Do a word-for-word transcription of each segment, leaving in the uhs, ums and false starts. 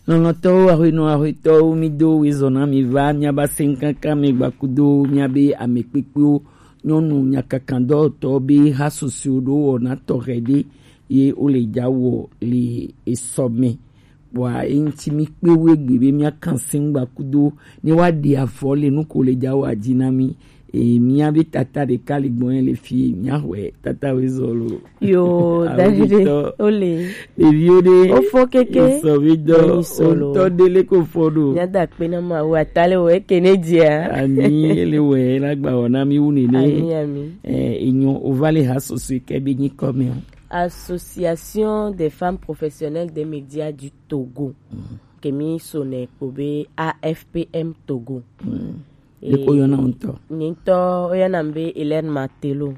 Lɔlɔ̃tɔwo, ahuenɔ ahuetɔwo, mi do wezɔ na mi va miaba sɛnkankan mi gbakudo miabe ame kpekpewo, nyɔnu nyakakandɔtɔ be ha susɔe ɖo wɔna tɔxɛ ɖe ye wo le ja wɔ le esɔ me. Bua eŋti mi kpe wo egbe be miakan sɛn gbakudo ne wa ɖe afɔ le nu ko le ja wɔ adzi na mi. E, mía be tata ɖeka le gbɔnye le fi, mía xɔe tata wezɔ lo. Yo, Awo Davide, ɖetɔ. Ole. Ɖeviwo ɖe. Wofɔ keke. Sɔ mi dɔ. Nyi sɔ lo. Ŋutɔ ɖe le ko fɔ ɖo. Mía da akpe na Mawu, ata le wɔ eke ne dzia. Ami, ele wɔ, la gba wɔ na mi wu nene. Ami, ami. Eh, enyo, o va le ha soso ke be nyi kɔ mi o. Association des femmes professionnelles des médias du Togo. Mm. Ke mi so ne kpo be A F P M Togo. Mm. E, ɖeko yɔna ŋutɔ. Nye ŋutɔ woyɔna be Hélène Martello.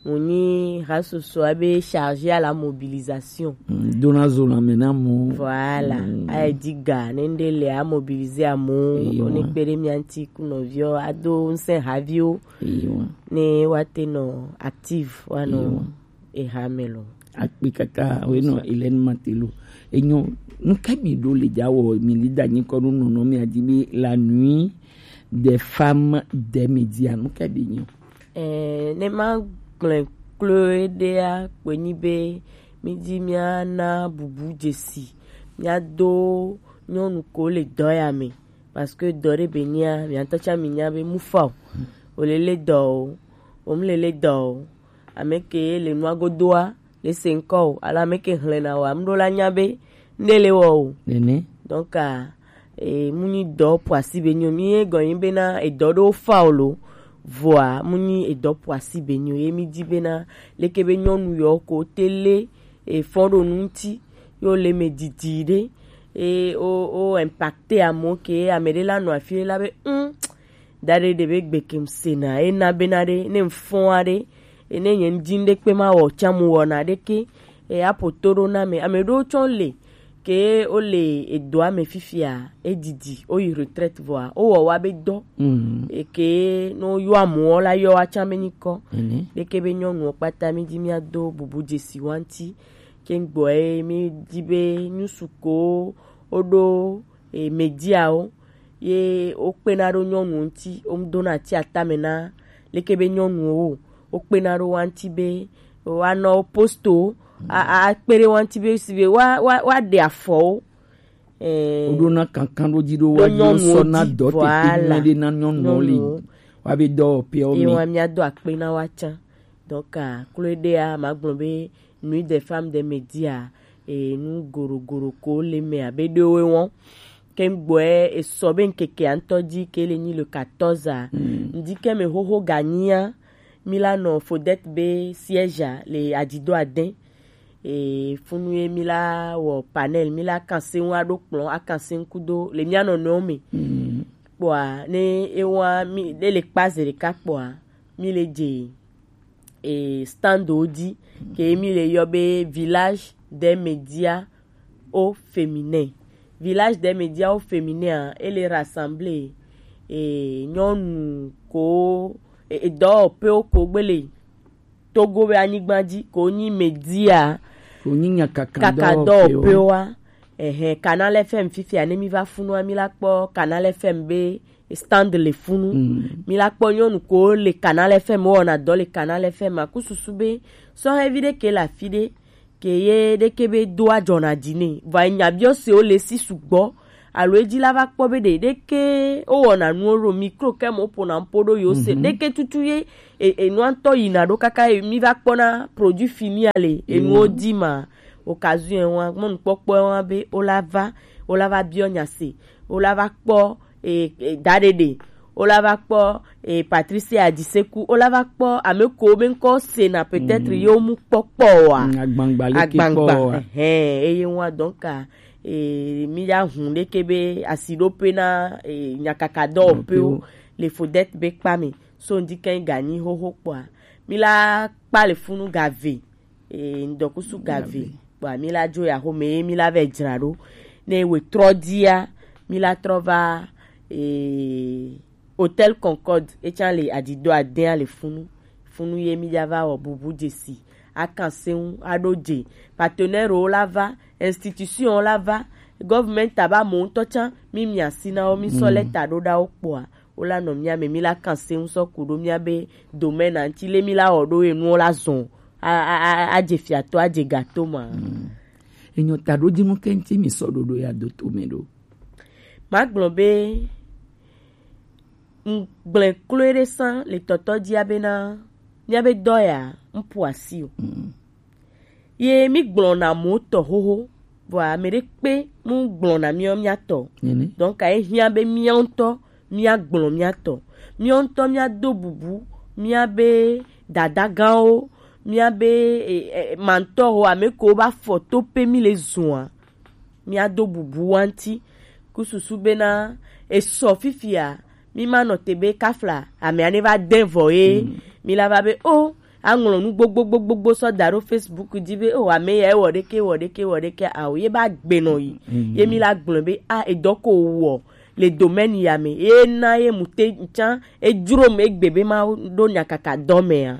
Mo nyi hasoso abe chargé à la mobilisation. Mm, dona zo lãme na mo. Voilà. Mm. Ayi di ga ne ŋɖe le a mobiliser amewo. Eyo. Wo ne kpe ɖe mía ŋuti ku nɔviwo ado ŋusẽ haviwo. Eyo. Ne woate nɔ active woanɔ. Eyo. Eha me lo. Akpe kaka, we nɔ Hélène Martello. Enyo, nu ka mi ɖo le ja wɔ, mi li da nyi kɔ nu nɔnɔ mi adi be la nuit des femmes des médias, nu ka be nyo. Eh, ne ma gblẽ kloe ɖea, kpe nyi be mi di mía na bubu dzesi, mía do nyɔnu ko le dɔ ya me. Parce que dɔ ɖe be nyia, mía ŋutɔ tsã mi nya be mu fa o. O le le dɔ o, o mu le le dɔ o. Ame ke le nua godoa, le se ŋkɔ o. Alo ame ke hlena o, ame ɖo la nya be ŋɖe le wɔ o. Nene. Donc, ah, e, mu nyi dɔ po asi be nyo. Mi ye gɔnyi be na edɔ ɖo fa o lo. Voa, mu nyi edɔ po asi be nyo. Ye mi di be na, leke be nyɔnu yɔ ko te le, e, fɔn ɖo nu ŋuti, yo le me didi ɖe, e, o, o impacte amewo ke, ame ɖe la nɔ afi ɖe la be, mm, da ɖe ɖe be gbe ke ŋusẽ na, e na be na ɖe, ne ŋfɔn aɖe, e ne nye ŋdi ŋɖe kpe ma wɔ tsa mu wɔna ɖeke, e aƒo to ɖo na me. Ame ɖewo tsɔ le, ke wo le edoa me fifia, e didi, wo yi retraite vɔa, wo wɔ wa be dɔ. Mm. E ke no yɔ amewo la yɔ wa tsa me nyi kɔ. Ene. Ɖeke be nyɔnuwo kpata mi di mía do bubu dzesi wa ŋuti. Ke ŋgbɔ ye mi di be nyusu ko wo ɖo, e, mediawo. Ye wo kpena ɖo nyɔnuwo ŋuti, wo dona ti atame na leke be nyɔnuwo wo. Wo kpena ɖo wa ŋuti be wa nɔ wo posto, a, a, a kpe ɖe wa ŋuti be si be wa, wa, wa ɖe afɔwo. Eh, wo ɖo na kankan ɖo dzi ɖo ɖo wa dzi wo nyɔnuwo sɔ na dzi, dɔ tete voilà. Nyuie ɖe na nyɔnuwo li. Nyɔnuwo. Wa be dɔwɔƒeawo me. Ye wa mía do akpe na wa tsã. Donc, ah, kloe ɖea, ma gblɔ be Nuit des femmes des médias, e, nu gorogoɖo ko le me abe ɖewo wɔn. Ke ŋgbɔɛ esɔ be ŋkeke ŋutɔ dzi ke le nyi le quatorze a. Mm. Ŋdi ke me xoxo ganyia, mi la nɔ Fodette be siège a le adido adɛn. E, funu ye mi la wɔ panel, mi la kanse ŋu aɖo kplɔn, akanse ŋu kudo le mía nɔnɔewo me. Mm. Kpɔa, ne ewa mi, ɖe le kpa ze ɖeka kpɔa, mi le dze e, standwo dzi, ke mi le yɔ be Village des médias au féminin. Village des médias au féminin a, e le rassembler, e, nyɔnu ko, e, e, dɔwɔƒewo ko gbe le Togo be anyigba dzi, ko nyi média, ko nyi nyakaka kaka dɔwɔƒewo. Dɔwɔƒewoa. Ehe, Canal F M fifia, ne mi va funua, mi la kpɔ Canal F M be stand le funu. Mm. Mi la kpɔ nyɔnu ko le Canal F M, wɔna dɔ le Canal F M, aku susu be sɔhɛvi ɖe ke le afi ɖe, ke ye ɖeke be do adzɔna dzi nɛ. Vɔ enya biɔ se wo le si sugbɔ. Alo edzi la va kpɔ be ɖe, ɖeke wo wɔna nuwo ɖo micro ke mo ƒona ŋpo ɖo yo se. Mhm. Ɖeke tutu ye, e, e, nua ŋutɔ yina ɖo kaka ye mi va kpɔna produit fini a le, enuwo di ma. Occasion wa, mɔnukpɔkpɔ wa be wo la va, wo la va biɔ nya se, wo la va kpɔ, e, e, daɖeɖe, wo la va kpɔ, e, Patricia Adiseku, wo la va kpɔ ame ko be ŋkɔ sena peut-être ye wo mu kpɔkpɔ oa. Mm, agbangba leke kpɔ oa. Ehɛn, eye wa donc, e, mi ya hun ɖeke be asiɖoƒe na, e, nyakaka dɔwɔƒewo le Fodette be kpa me. So ŋdi kɛ ganyi xoxo kpɔa, mi la kpa le funu gave. E, ŋdɔkusu gave. Gave. Kpɔa, mi la dzo ya xome ye mi la vɛ dzra ɖo. Ne we trɔ dia, mi la trɔ va, e, Hôtel Concorde, e tsã le adido adɛn le funu. Funu ye mi dza va wɔ bubu dzesi. Akan se ŋu, aɖo dze. Partenaire wo la va, institution wo la va, Government aba mo ŋutɔ tsã, mi mia si na wo, mi sɔ lɛ ta ɖo ɖa wo kpɔa, wo la nɔ mia me, mi la kan se ŋu sɔ ku ɖo mia be domaine anti le mi la wɔ ɖo enuwo la zɔn a a a a je fiatɔ a je gato ma. Enyo ta ɖo dzi mu kɛnti mi sɔ ɖoɖo ya do to me ɖo. Ma gblɔ be ŋgblẽ kloe ɖe sã le tɔtɔ dzia bena míabe dɔ ya ŋpu asi o. Ye mígblɔna mɔ tɔ xoxo, vɔa ame ɖe kpe mu gblɔna míɔ míatɔ. Donc aye hiã be míawo ŋutɔ míagblɔ míatɔ. Míawo ŋutɔ míado bubu míabe dadagãwo, míabe e, e, mantɔwo, ame kewo va fɔ to pe mí le zua. Míado bubu wa ŋuti ku susu bena esɔ fifia, mi ma nɔ te be kafla amea ne va de vɔ ye, mi la va be o, aŋlɔ nu gbogbo gbogbo gbogbo sɔ da ɖo Facebook dzi be o, ame ya ewɔ ɖeke wɔ ɖeke wɔ ɖeke ao, ye ba gbe nɔ yi. Ye mi la gblɔ be a, edɔ ko wɔ le domaine ya me ye na ye mu te tsã edzro me egbe be ma ɖo nyakaka dɔ mea.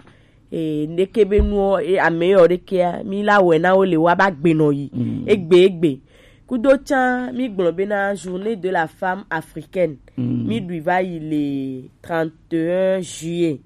E, neke be nuwo, e, ame yɔ ɖekea, mi la wɛ na wo le wa ba gbe nɔ yi. Egbe, egbe. Kudo tsã, mi gblɔ bena journée de la femme africaine. Mi ɖui va yi le trente et un juillet.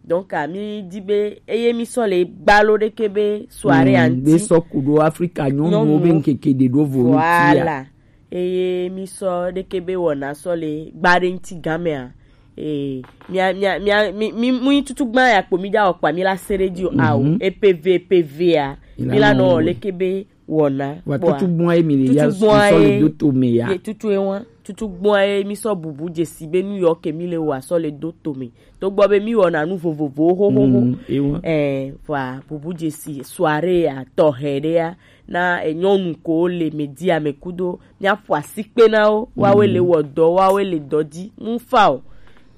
Donc, a, mi di be, eye mi sɔ le gbalo ɖeke be soirée anti. Be sɔ ku ɖo Afrika nyɔnuwo be ŋkeke ɖe ɖo vo ŋutia. Voilà. Eye mi sɔ ɖeke be wɔna sɔ le gba ɖe ŋuti gamea. Ee, mia, mia, mia, mi, mi, mu yi tutu gba ya kpo mi ja wɔ kpa mi la se ɖe dzi o. Ao, epeve, epevea, mi la nɔ leke be wɔna. Wa tutu gbɔn ye mi le ya sɔ le do to me ya. Ye tutu ye wa, tutu gbɔn ye mi sɔ bubu dzesi be nu yɔ ke mi le wa sɔ le do to me. Togbɔ be mi wɔna nu vovovowo xoxoxo. Ɛɛ, vɔa bubu dzesi soirée ya tɔxɛ ɖe ya na enyɔnu ko le media me kudo míaƒo asikpe na wo, woawoe le wɔ dɔ, woawoe le dɔ dzi, mu fa o.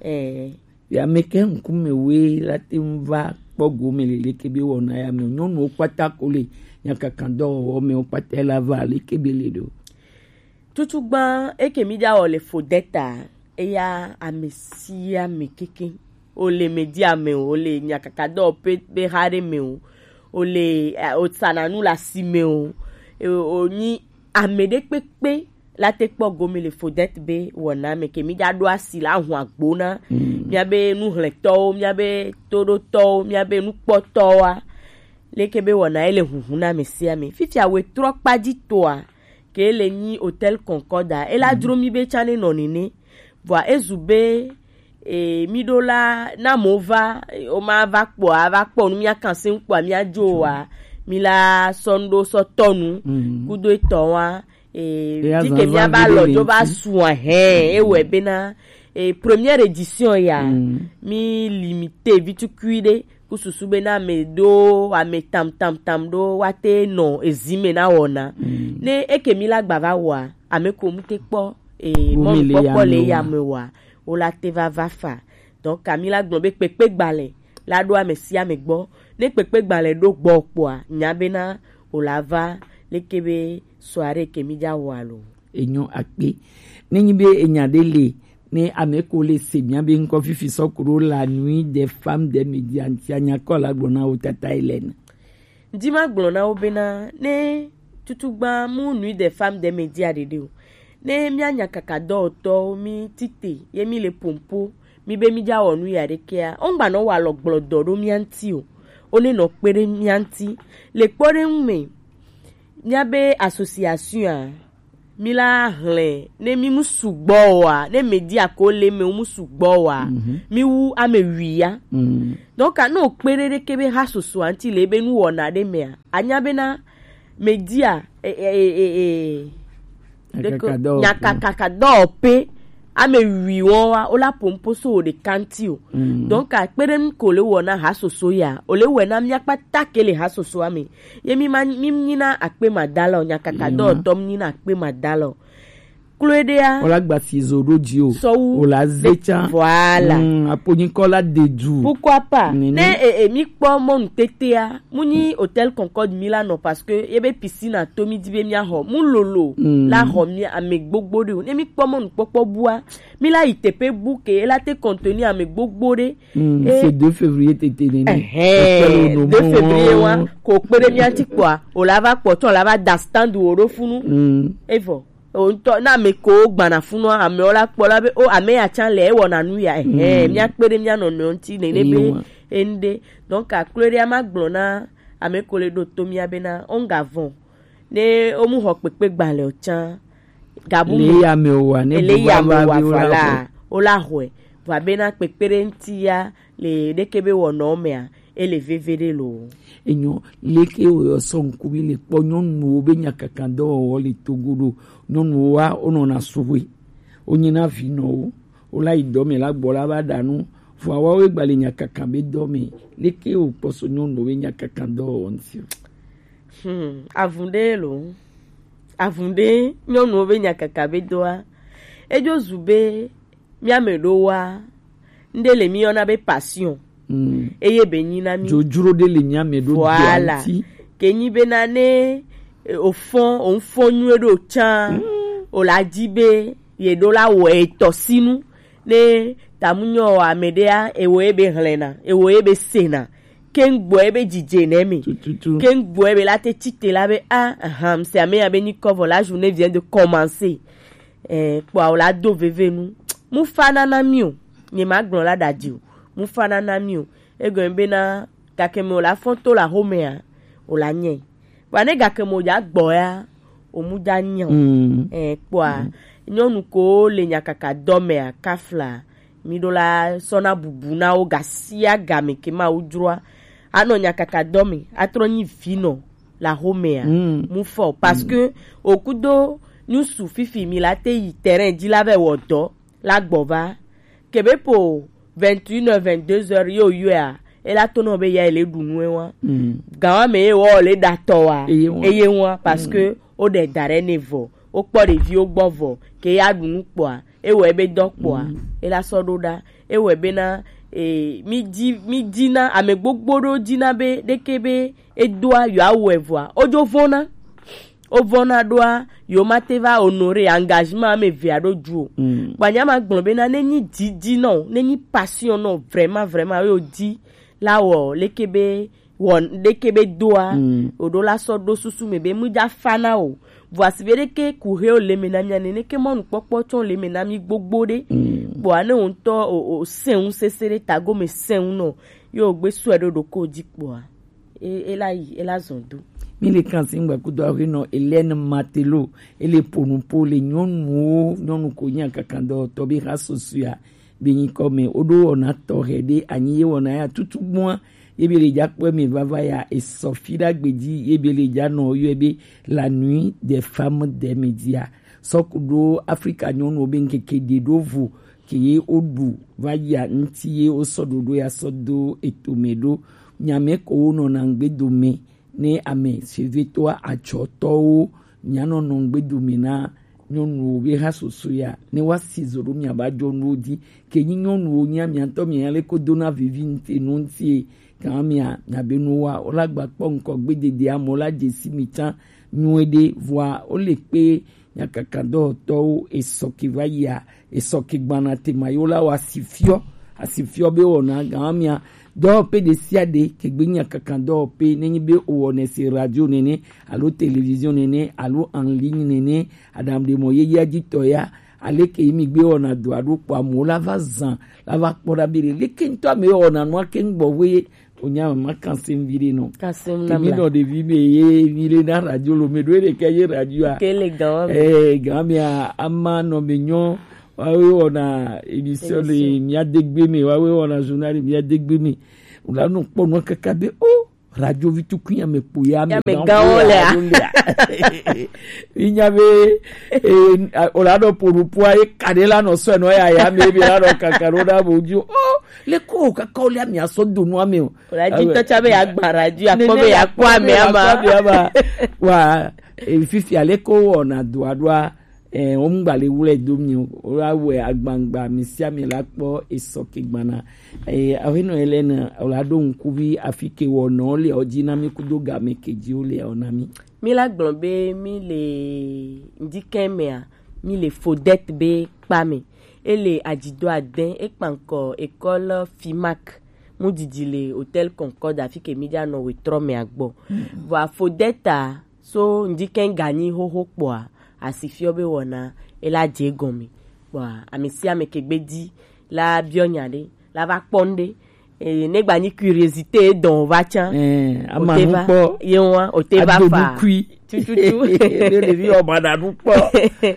Ɛɛ. Ya me ke ŋkume woe la te ŋu va kpɔ gome le leke be wɔna ya me. Nyɔnuwo kpata ko le nyakaka dɔwɔwɔ me wo kpata la va leke be le ɖo. Tutugbã eke mi ja wɔ le Fodeta, eya ame sia ame keke. O le media me o, o le nyakaka dɔ pe be ha ɖe me o, o le, eh, o sana nu le asi me o, e, o nyi ame ɖe kpekpe la te kpɔ gome le Fodeta be wɔna me ke mi ja ɖo asi la hu agbo na mia be nuhlɛtɔwo, mia be toɖotɔwo, mia be nukpɔtɔwoa, leke be wɔna ele huhu na ame sia ame. Fifia we trɔ kpa dzi toa, ke le nyi Hôtel Concorde a, ela dzro mi be tsã ne nɔ nene. Vɔa ezu be, e, mi ɖo la, na mo va, o ma va kpɔa, va kpɔ nu, mia kan se kpɔa, mia dzo wa, mi la sɔ nu ɖo sɔ tɔ nu, kudo etɔ wa, e, di ke mia ba lɔ dzo va sua hɛ, e wɛ bena, e, première édition ya, mi limité vitukui ɖe, ku susu be na ame ɖo ame tam tam tam ɖo wa te nɔ ezi me na wɔna. Ne eke mi la gba va wɔa, ame ko mu te kpɔ, e, mɔnu kpɔkpɔ le ya me wɔa, o la te va va fa. Donc, ami la gblɔ be kpekpe gbalẽ la ɖo ame sia ame gbɔ. Ne kpekpe gbalẽ ɖo gbɔ kpɔa, nya bena o la va leke be soirée ke mi ja wɔ alo. Enyo akpe. Ne nyi be enya ɖe le, ne ame ko le se mia be ŋkɔ fifi sɔ ku ɖo la nuit des femmes des médias ŋutia, nya kɔ la gblɔ na wo tata Hélène. Ŋdi ma gblɔ na wo bena ne tutugba mu nuit des femmes des médias ɖeɖe o. Ne mia nyakaka dɔwɔtɔwo mi tite ye mi le pompo, mi be mi ja wɔ nu ya ɖekea, o ŋgba nɔ wa lɔ gblɔ dɔ ɖo mia ŋti o. O ne nɔ kpe ɖe mia ŋti. Le kpɔɖeŋu me, mia be association a, mi la hlẽ, ne mi mu sugbɔ oa, ne média ko le me mu sugbɔ oa, mi wu ame wui ya. Donc, ne o kpe ɖe ɖeke be ha soso anti le be nu wɔna ɖe mea, anya bena média, e, e, e, e, e, nyakaka dɔwɔƒe, ame wui wɔn wa, o la pompo so o ɖeka ŋti o. Donc, akpe ɖe nu ko le wɔna ha soso ya, o le wɔna mia kpata ke le ha soso ame. Ye mi ma, mi nyina akpe madala o, nyakaka dɔwɔtɔ mi nyina akpe madala o. Kloe ɖea. O la gba si zo ɖo dzi o. Sɔwu. O la ze tsa. Voilà. Mm, apo nyikɔ la de du. Pourquoi pas? Ne, e, e, mi kpɔ mɔnu tetea, mu nyi Hôtel Concorde mi la nɔ parce que ye be piscine to mi di be mia xɔ. Mu lolo la xɔ mi ame gbogbo ɖe o. Ne mi kpɔ mɔnu kpɔkpɔ bua, mi la yi teƒe bu ke, e la te contenir ame gbogbo ɖe. Mm, c'est deux février tete nene. Ɛhɛn, deux février wa, ko kpe ɖe mia ŋti kpɔa, o la va kpɔ tɔ, o la va da stand wo ɖo funu. Mm. Evɔ. o ŋutɔ na ame ko gbana funua, amewo la kpɔ la be o ame ya tsã le ewɔna nu ya, ɛhɛ, mía kpe ɖe mía nɔnɔewo ŋuti nene be enu ɖe. Donc aklo ɖe ama gblɔ na ame ko le ɖo to mía bena o ŋga vɔn ne o mu xɔ kpekpe gbalẽ o tsã gabu le me ya me wa ne ele bu ya va me va wa bi o la fala xɔ. O la xɔe vɔ abe na kpekpe ɖe ŋuti ya le ɖeke be wɔnɔ mea ele veve ɖe lo. Enyo leke o yɔ sɔ ŋkuvi le kpɔ nyɔnuwo be nyakaka dɔwɔwɔ le Togo ɖo, nyɔnuwo wa o nɔna suwe, o nyina vinɔwo, o la yi dɔ me la gbɔ la va ɖa nu, vɔ awa wo gba le nyakaka be dɔ me, leke o kpɔ so nyɔnuwo be nyakaka dɔwɔwɔ ŋuti o. Hmm, avun ɖe lo. Avun ɖe nyɔnuwo be nyakaka be dɔa. Edzo zu be mía me ɖo wa ŋɖe le mí yɔna be passion. Mm. Eye be nyi na mí dzodzro ɖe le mía me ɖo. Voilà. Ke nyi be na ne e, o fɔn o ŋfɔn nyuie ɖo tsã, o la di be ye ɖo la wɔ etɔ sinu ne tamu nyɔ ame ɖea ewo ye be hlɛna ewo ye be sena keŋ gbɔ ye be dzidze nɛ me. Tututu. Keŋ gbɔ ye be la te tsite la be a ahan se ame ya be nyi kɔvɔ la journée vient de commencer. Eh, kpɔa o la do veve nu. Mu fa na na mi o. Nye ma gblɔ la ɖa di o. Mu fa na na mi o. Egɔme bena gake me o la fɔn to la xomea o la nyɛ. Kpɔa ne gake me o dza gbɔ ya o mu dza nyɛ o. Mm. Eh, kpɔa nyɔnu ko le nyakaka dɔ mea kafla mi ɖo la sɔ na bubu na wo gasia game ke ma wo dzroa. Anɔ nyakaka dɔ me atrɔ nyi vinɔ la xomea. Mm. Mu fɔ parce que o kudo nyusu fifi mi la te yi terrain dzi la vɛ wɔ dɔ la gbɔ va kebe po vingt et une heures, vingt-deux heures yo yɔa e la to nɔ be ya ele ɖu nu wa. Mm. Gawa me ye wɔ le da tɔ wa eye wa parce que o ɖe da ɖe ne vɔ o kpɔ ɖeviwo gbɔ vɔ ke ya ɖu nu kpɔa e wɔ ebe dɔ kpɔa e la sɔ ɖo ɖa e wɔ ebe na e mi di mi di na ame gbogbo ɖo di na be ɖeke be edoa yewoawɔe vɔa, wodzo vɔ̃na. Wovɔ̃na ɖoa, yewomate va honorer engagement ame evea ɖo dzu o. Mm. Gbanya ma gblɔ bena, ne nyi didi nɔ, ne nyi passion nɔ, vraiment, vraiment, ye wodi la wɔ leke be, wɔ leke be doa, mm, woɖo la sɔ ɖo susu me be, mu dza fa na o. Vɔ asi be ɖeke ku he o le me na mia nene ke mɔnukpɔkpɔ tsɔ le me na mi gbogbo ɖe. Mm. Kpɔa ne wo ŋutɔ o, o sɛn ŋu sese ɖe tago me sɛn ŋu nɔ, ye wogbe sɔe ɖo ɖoko dzi kpɔa. E, e la yi, e la zɔn do. Mi le kan si ŋgba kudo aƒenɔ Hélène Martello, e le ƒo nu ƒo le nyɔnuwo, nyɔnu ko nyi akakadɔwɔtɔ be ha susua be nyikɔ me. Woɖo wɔna tɔxɛ ɖe anyi ye wɔna ya tutu gbɔa, ye be le dza kpɔe me vava ya, esɔ fi ɖa gbe dzi, ye be le dza nɔ yɔe be la nuit des femmes des médias. Sɔ ku ɖo Afrika nyɔnuwo be ŋkeke ɖe ɖo vo ke ye woɖu va yia ŋuti ye wosɔ ɖoɖo ya sɔ do etome ɖo. Nyame ko wonɔna ŋgbe dome ne ame sivitɔa atsɔtɔwo, mianɔnɔ ŋgbe dome na nyɔnuwo be ha soso ya, ne woasi zo ɖo miaba dzɔ nuwo dzi. Ke nyi nyɔnuwo nyia, miatɔ mia le ko dona vivi ŋte nu ŋtie, gama mia, miabe nuwoa, wola gba kpɔ ŋkɔ gbe dede amewo la dzesi mi tsã nyuie ɖe, vɔa wole kpe nyakakadɔwɔtɔwo esɔ ke va yia, esɔ ke gbana tema yewo la wɔ asifiɔ, asifiɔ be wɔna gama mia, dɔwɔƒe ɖe sia ɖe ke gbe nyakakadɔwɔƒe, nenyi be owɔnɛ se radio nene, alo télévision nene, alo en ligne nene, aɖaŋu ɖe mɔ yeyea dzi tɔ ya, aleke yi mi gbe wɔna dɔa ɖo kpɔ amewo la va zã, la va kpɔ ɖa be ɖe, leke ŋutɔ ame wɔna nua ke ŋgbɔ ʋe Onya ma kan se mi ɖe nɔ. Kan se mi na mi nɔ ɖevi me ye mi le na radio lo me ɖo ɖe ke ye radio a. Ke le gan wa me. Eh, gan me a, ama nɔ me nyɔ. Wa we wɔna émission le mia degbe me, wa we wɔna journal le mia degbe me. Wòla nɔ kpɔ nua kaka be, oh, radio vi tukun ya me kpo ya me gan wo le a. Inya be, eh, wòla nɔ poɖopoa ye ka ɖe la nɔ sɔ nɔ ya ya me be la nɔ kaka ɖo ɖa bo dzi. Oh, le ko kaka wo le mi asɔ do nua me o. Wòla dzi tɔ tsa be ya gba radio, akpɔ be ya kpɔ amea ma. Wa, eh, fifia le ko wɔna dɔa ɖoa, eh, wo ŋgba le wlɛ do mi o. Wola wɛ agbangba mi sia mi la kpɔ esɔ ke gbana. Eh, aƒenɔ Hélène, wòla ɖo ŋkuvi afi ke wɔnɔ le o dzi na mi kudo game ke dzi wo le o na mi. Mi la gblɔ be mi le ŋdikɛ mea, mi le Fodette be kpa me. E le adzido adɛn, e kpa ŋkɔ école Fimac. Mu didi le Hôtel Concorde afi ke mi dza nɔ wetrɔ mea gbɔ. Vɔa Fodette a, so ŋdi kɛn ganyi xoxo kpɔa, Asi fiɔ be wɔna e la dze egɔme. Kpɔa, ame sia ame ke gbe di la biɔ nya ɖe, la va kpɔ nu ɖe. Eye ne gba nyi curiosité dɔn o va tsã, eh, o ama te nu va kpɔ, ye wa, o te va ado fa nukui. Tututu. Ne ɖevi o ma na nu kpɔ.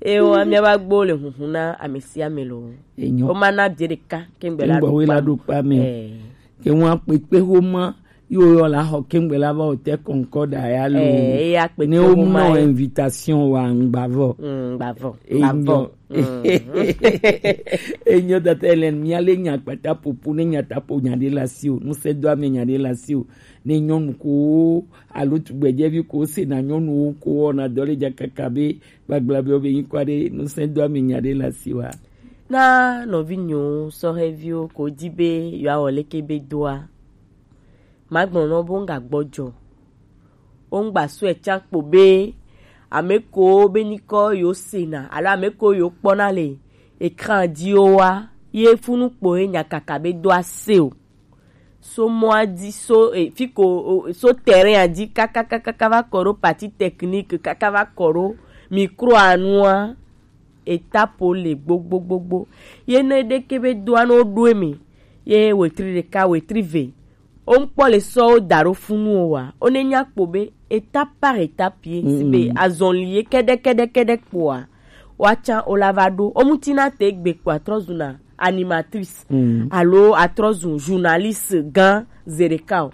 Ye wa, mía va gbo le huhu na ame sia ame lo. Enyo. O ma na bie ɖeka kengbe la kengbe ɖo we la kpa. Ɖo kpa me. Eh. Ke wa kpekpe ho ma yo yo la xɔ kengbe la va o te kɔnkɔ da ya lo. Eh, eya kpekpe ne o ho ma nɔ ye. Invitation wa ŋgba vɔ. Mm, ŋgba vɔ. Enyo. Ŋgba vɔ. Mm. Enyo tata Hélène, mía le nya kpata popo ne nya ta po nya ɖe la si o. Nu se do ame nya ɖe la si o. Ne nyɔnu ko alo tugbedzɛvi ko se na nyɔnuwo ko wɔna dɔ le dza kaka be gbagblabia be nyikɔ aɖe nu se do ame nya ɖe la si wa. Na nɔvinyewo, sɔhɛviwo ko di be yewoawɔ leke be doa. Magblɔ nɔ bo ŋga gbɔdzɔ. Wo ŋgba sɔe tsa kpo be ame ko be nyikɔ yo sena alo ame ko yo kpɔna le écran dzi wo wa ye funu kpo ye nya kaka be do ase o. So mɔa dzi so e, fi ko o, so terrain a dzi kaka kaka va kɔ ɖo partie technique kaka va kɔ ɖo micro a nua. Étape le gbogbogbogbo. Ye ne ɖeke be doa ne woɖo eme ye wetri ɖeka wetri ve. Wo ŋkpɔ le sɔ wo da ɖo funu o wa. Wo ne nya kpo be étape par étape ye si be azɔli ye kɛɖɛ kɛɖɛ kɛɖɛ kpoa. Woatsã wo la va ɖo. Wo ŋuti na te gbe kpoa trɔ zuna animatrice alo atrɔ zu journaliste gã zeɖeka o.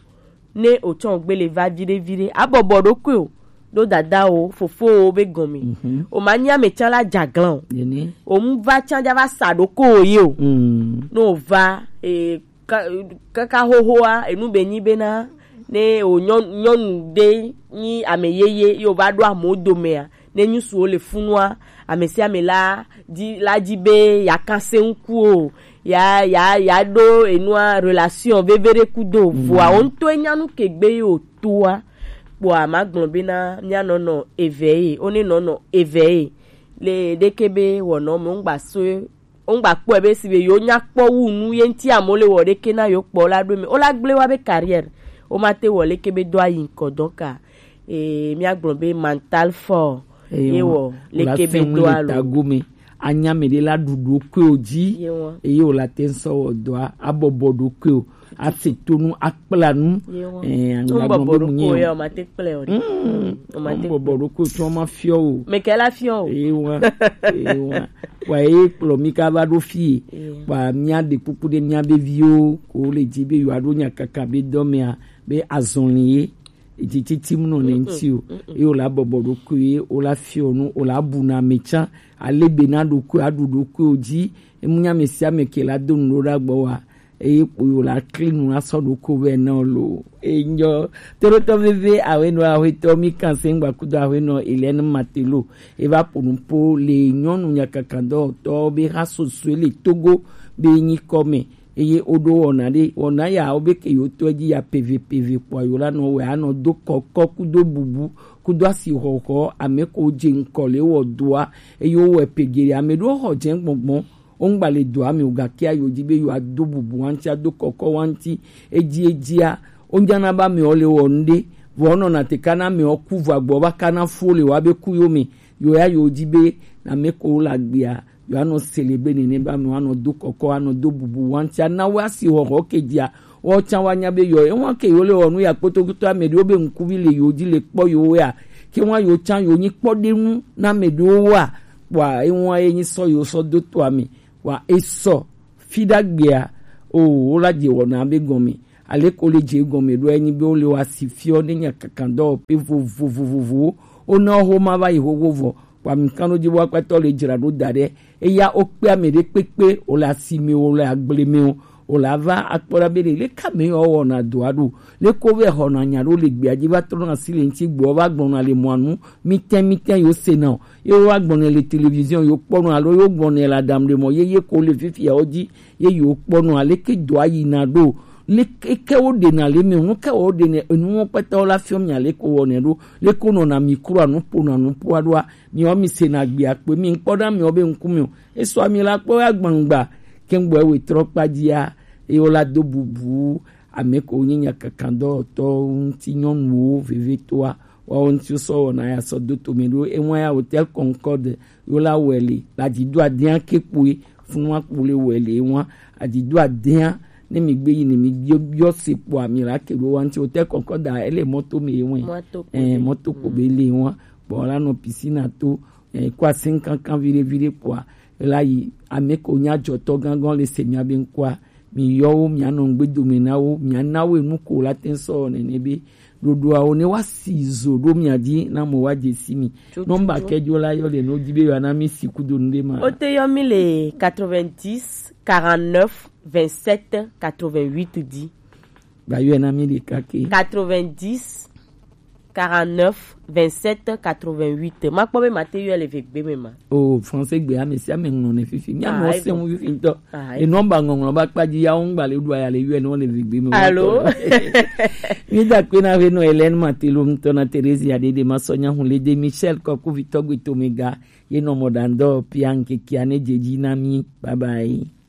Ne o tsɔ gbele va viɖe viɖe abɔbɔ ɖokui o ɖo dada o fofo o be gɔme. O ma nya me tsã la dza glan o. O mu va tsã dza va sa ɖoko o ye o. Ne o va e, ka- kaka xoxoa enu be nyi bena ne o nyɔnu ɖe nyi ame yeye ye o va ɖo amewo domea ne nyusuwo le funua ame sia ame la di la di be ya kase ŋku o ya ya ya ɖo enua relation veve ɖe kudo vɔa wo ŋutɔ enya nu ke gbe ye o toa kpɔa ma gblɔ bena mía nɔnɔ eve ye o ne nɔnɔ eve ye le ɖeke be wɔnɔ me ŋgba so ŋgba kpɔe be si be yo nya kpɔ wu nu ye ŋti amewo le wɔ ɖeke na yo kpɔ la ɖo me o la gble wa be carrière o ma te wɔ leke be do ayi ŋkɔ dɔka. Ee, míagblɔ be mental fort. Eye ye wɔ leke be do alo tago me anya me ɖe la ɖuɖu koe o dzi. Ye wɔ. Eye o la te ŋsɔ wɔ dɔa abɔbɔ ɖo koe o ase tonu akpla nu. Ye wɔ. Ee, ŋgba bɔbɔ ɖo koe ya o ma te kple o de. Mm. O ma te bɔbɔ ɖo koe o tɔ ma fiɔ o. Me ke la fiɔ o. Eye wɔ. Eye wɔ. Wa ye kplɔ mi ka va ɖo fie. Wa mía ɖe kpukpu ɖe mía be viwo ko le dzi be yo aɖo nya kaka be dɔ mea be azɔli ye. Etsitsitsi mu nɔ ne ŋuti o. Eye wòle abɔbɔ ɖokui ye wòle afiɔ nu wòle abu na ame tsã ale be na ɖokui aɖu ɖokui o dzi. Emu nya ame sia ame ke la do nu ɖo ɖe agbɔ wa eye kpo wòle akli nu asɔ ɖokui vɛ na o lo. Enyɔ toɖotɔ veve awenɔ ahuetɔ mi kan se ŋgba kudo awenɔ Hélène Matelo eva ƒo nu po le nyɔnu nyakakadɔwɔtɔ be ha sosoe le Togo be nyikɔ me. Eye woɖo wɔna ɖe wɔna ya wobe ke yewo tɔ dzi ya peve peve kpɔa yewo la nɔ wɛ anɔ do kɔkɔ kudo bubu kudo asixɔxɔ ame ko dze ŋkɔ le wɔ doa eye wowɔe pegere ame ɖewo xɔ dze gbɔngbɔn wongba le doa me o gake ayo dzi be yewoa do bubu wanti ado kɔkɔ wanti edzi edzia wonyana be amewo le wɔ nu ɖe vɔ wonɔna te kana amewo ku vɔ agbɔ va kana fu wo le wa be ku yo me yo ya yewo dzi be ame ko le agbea Yo anɔ célébrer nene be amewo anɔ do kɔkɔ, anɔ do bubu wanti, ana wo asi xɔxɔ ke dzia, wo tsã woanya be yewo, ewa ke yewo le wɔ nu ya kpotokpoto ame ɖewo be ŋkuvi le yewo dzi le kpɔ yewo ya, ke wa yewo tsã yewo nyi kpɔɖeŋu na ame ɖewo wa, kpɔa ewa ye nyi sɔ yewo sɔ do to ame, wa esɔ fi ɖagbea, o, wo la dze wɔna be gɔme. Aleke wo le dze egɔme ɖoa, enyi be wo le wo asi fiɔ ne nya kankan dɔwɔƒe vovovovowo. Wona wo xoma va yi xoxo vɔ. Kpɔ amikanɖodzi be aƒetɔ le dzra ɖo da ɖe. Eya wo kpe ame ɖe kpekpe, wo le asi me, wo le agble me o, wo la va akpɔ ɖa be ɖe leke ame yawo wɔna dɔa ɖo. Leke wo vɛ xɔna nya ɖo le gbea dzi va trɔna asi le ŋuti gbɔ va gblɔna le mɔa nu. Mitɛn mitɛn yewo sena o. Ye wo va gblɔnɛ le télévision yewo kpɔnɔ alo yewo gblɔnɛ le aɖaŋu ɖe mɔ yeye ko le fifiawo dzi. Ye yewo kpɔnɔ aleke dɔa yina ɖo, leke ke wo ɖena le me, nu ke wo ɖenɛ, enuwo kpɛtɛwo la fiɔ mi aleke wo wɔnɛ ɖo, leke wo nɔna micro anu ƒona nuƒoa ɖoa, miwo mi sena gbea kpe, mi ŋkpɔ ɖa miwo be ŋku mi o, esɔ mi la kpɔ ya gbangba, ke ŋgbɔ ewe trɔ kpa dzia, eye wo la do bubu ame ko nyi nya kankan dɔwɔtɔwo ŋuti nyɔnuwo vevetoa, Kpɔ ŋuti sɔ wɔna ya sɔ do tome ɖo ewa ya Hotel Concorde yo la wɛle la di do adea ke kpoe funu wa kpole wɛle ewa adi do adea ne mi gbe yi ne mi biɔ biɔ se kpɔ ami la ke ɖo wa ŋti Hotel Concorde ele mɔto me ewa eh mɔto kpo be le ewa kpɔ la nɔ piscine to eh kwa cinquante ans vire vire kpɔa la yi ame ko nya jɔtɔ gangan le se mia be ŋkɔa mi yɔ wo mia nɔ ŋgbe dome na wo mia na wo enu ko la te sɔ nene be ɖoɖoawo ne wa si zo ɖo mia di na mo wa je si mi nɔmba kɛjo la yɔ le no di be yɔ na mi si kudo nu de ma o te yɔ mi le quatre-vingt-dix quarante-neuf vingt-sept quatre-vingt-huit di ba yɔ na mi de kake quatre-vingt-dix quarante-neuf vingt-sept quatre-vingt-huit ma kpɔ be ma te yɔ le ve gbe me ma o français gbe ame si ame ŋlɔ ne fifi mi ame o se ŋu fifi ŋutɔ e nɔmba ŋɔŋlɔ ba kpa dzi ya wo ŋgba le ɖu aya le yɔ ne wo le vi gbe me alo mi da kpe na ve nɔ Hélène Matelo ŋutɔ na Theresia Dede ma sɔ nyahu le de Michel kɔku vitɔ gbe to me ga ye nɔ mɔ da ŋdɔ pia ŋkekea ne dze dzi na mi bye bye